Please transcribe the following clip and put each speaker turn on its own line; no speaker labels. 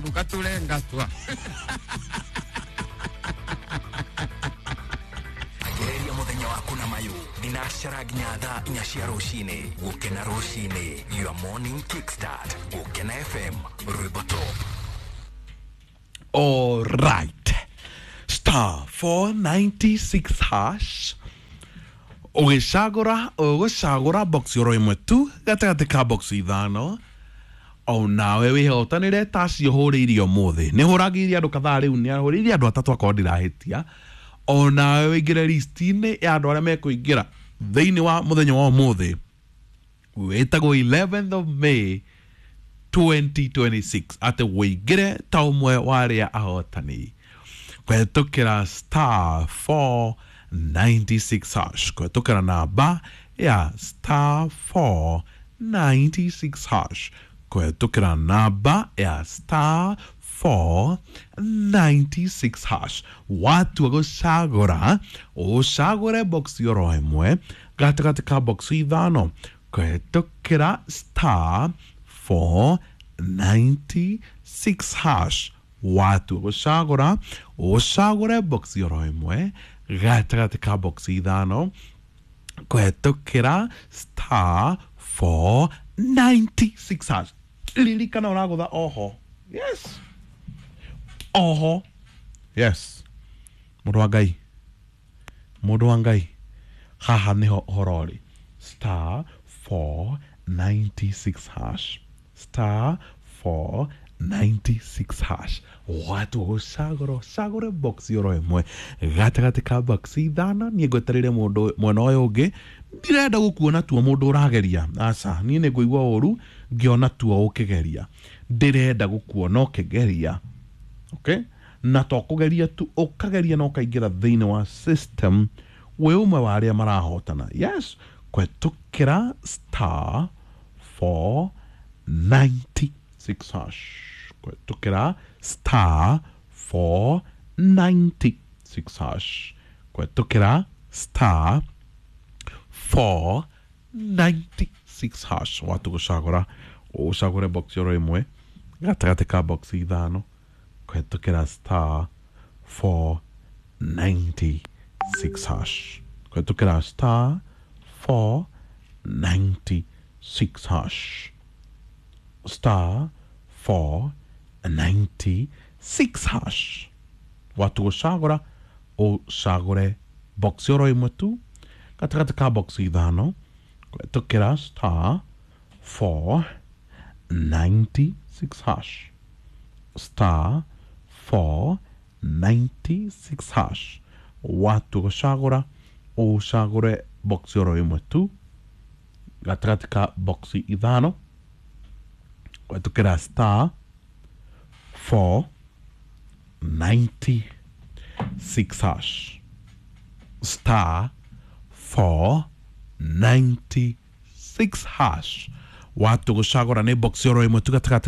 Mũgatũre ngatwa.
Ambĩrĩria mũthenya waku na mayũ thinacara nginya thaa 4 cia rũcinĩ. Gũkena rũcinĩ, your morning kickstart. Gũkena FM, rwĩmbo top.
All right. Star 496 hash. Ũgĩcagũra ũgũcagũra box oro ĩmwe tu gatagatĩ ka box 5 o nawe wĩhotanĩre ta acio hũrĩirie ũmũthĩ. Nĩ hũragĩirie andũ kadhaa rĩu, nĩ hũrĩirie andũ atatũ akorwo ndirahĩtia. O nawe wĩingĩre list-inĩ ya andũ arĩa mekũingĩra thĩinĩ wa mũthenya wa ũmũthĩ wĩtagwo 11th of May 2026, atĩ wĩingĩre ta ũmwe wa arĩa ahotani kũhetũkĩra star 496 hash, kũhetũkĩra namba ya star 496 hash, kũhetũkĩra namba ya star 496 hash. Watua gũcagũra ũcagũre box oro ĩmwe gatagatĩ ka box 5 kũhetũkĩra star 496 hash. Watua gũcagũra ũcagũre box oro ĩmwe gatagatĩ ka box 5 kũhetũkĩra star 496 hash. Ririkana ũragũtha oho. Yes, oho. Yes, mũndũ wa Ngai, mũndũ wa Ngai, haha nĩho ũhoro ũrĩ. Star 496 hash, star 496 hash. Watua gũcagũra ũcagũre box oro ĩmwe gatagatĩ ka box 5. Niĩ ngwetereire mũndũ mwena ũyũ ũngĩ, ndirenda gũkuona tuo mũndũ ũrageria. Aca, niĩ nĩ ngũigua ũru ngĩona tuo ũkĩgeria. Ndĩrenda gũkuona ũkĩgeria. Okay, na to kũgeria tu, ũkageria na ũkaingĩra thĩinĩ wa system wĩ ũmwe wa arĩa marahotana. Yes, kũhetũkĩra star 496 hash, kũhetũkĩra star 496 hash, kũhetũkĩra star 496 hash. Watu gũcagũra ũcagũre box oro ĩmwe gatagatĩ ka box 5 kũhetũkĩra star 496 hash, kũhetũkĩra star 496 hash, star 496 hash. Watu gũcagũra ũcagũre box oro ĩmwe tu gatagatĩ ka box 5 kũhetũkĩra star 496 hash, star 496 hash. Watu gũcagũra ũcagũre box oro ĩmwe tu gatagatĩ ka box 5 kũhetũkĩra star 496 hash, star 496 hash. Watu gũcagũra nĩ box oro ĩmwe tu gatagatĩ ka